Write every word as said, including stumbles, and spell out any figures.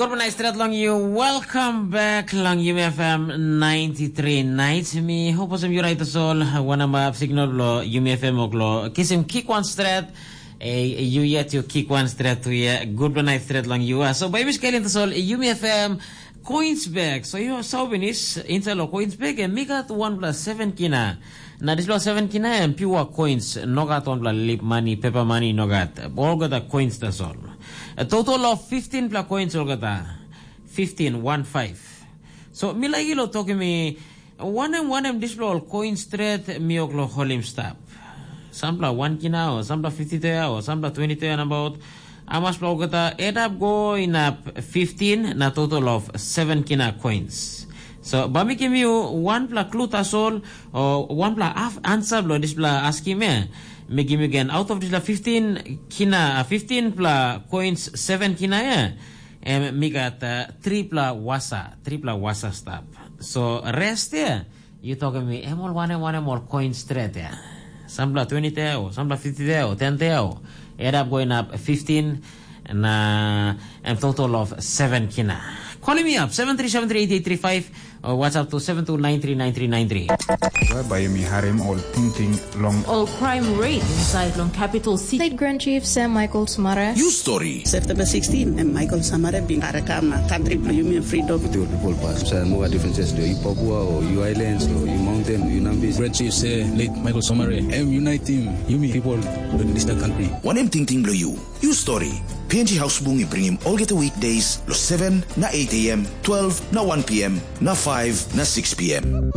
Urbanai stret long you. Welcome back long Yumi F M ninety-three night. Mi hope osem you right as all. Wanama signal lo Yumi F M oklo. Kisim kick one stret. Eh, you yet you kick one stret to ye. Good night stret long you. So baby scaling to sol Yumi F M coins back. So you saw binis inside lo coins back and mi got one plus seven kina. Na dispela seven kina em pure coins, no gat wanpela lip money, paper money, no gat. Olgeta coins tasol. A total of fifteen pla coins olgeta. Fifteen, one five. So mi laik ilo toki mi wanem wanem dispela ol coin stret mi oklo holim stap. Sampla one kina o sampla fifty te o sampla twenty te nabaut. Amaspela olgeta edap go inap fifteen na total of seven kina coins. So ba mi givim you wanpela clue tasol o wanpela half answer bilong dispela askim ya. Mi givim you again out of dispela fifteen kina, fifteen pla coins seven kina ya. Em mi gat uh, tripla wasa, tripla wasa stap. So rest ya. You talking me em ol wanem wanem ol coin stret ya. Sampla twenty te o sampla fifty te o ten te o. Add up going up fifteen na em total of seven kina. Calling me up seven three seven three eight eight three five or WhatsApp to seven two nine three nine three nine three. Bai bai mi harim ol tingting long ol crime rate inside long capital city. State Grand Chief Sam Michael Smara. You story. September sixteen, em Michael Samare bin karakam na country bilong yumi em freedom. With your people pass. So no differences do you Papua or you islands or you mountain, you Nambis. Grand Chief say late Michael Samare, em uniting yumi people in this country. One em tingting bilong you. You story. P N G House Bung i bringim olgeta weekdays lo seven na eight a m, twelve na one p m, na five na six p m.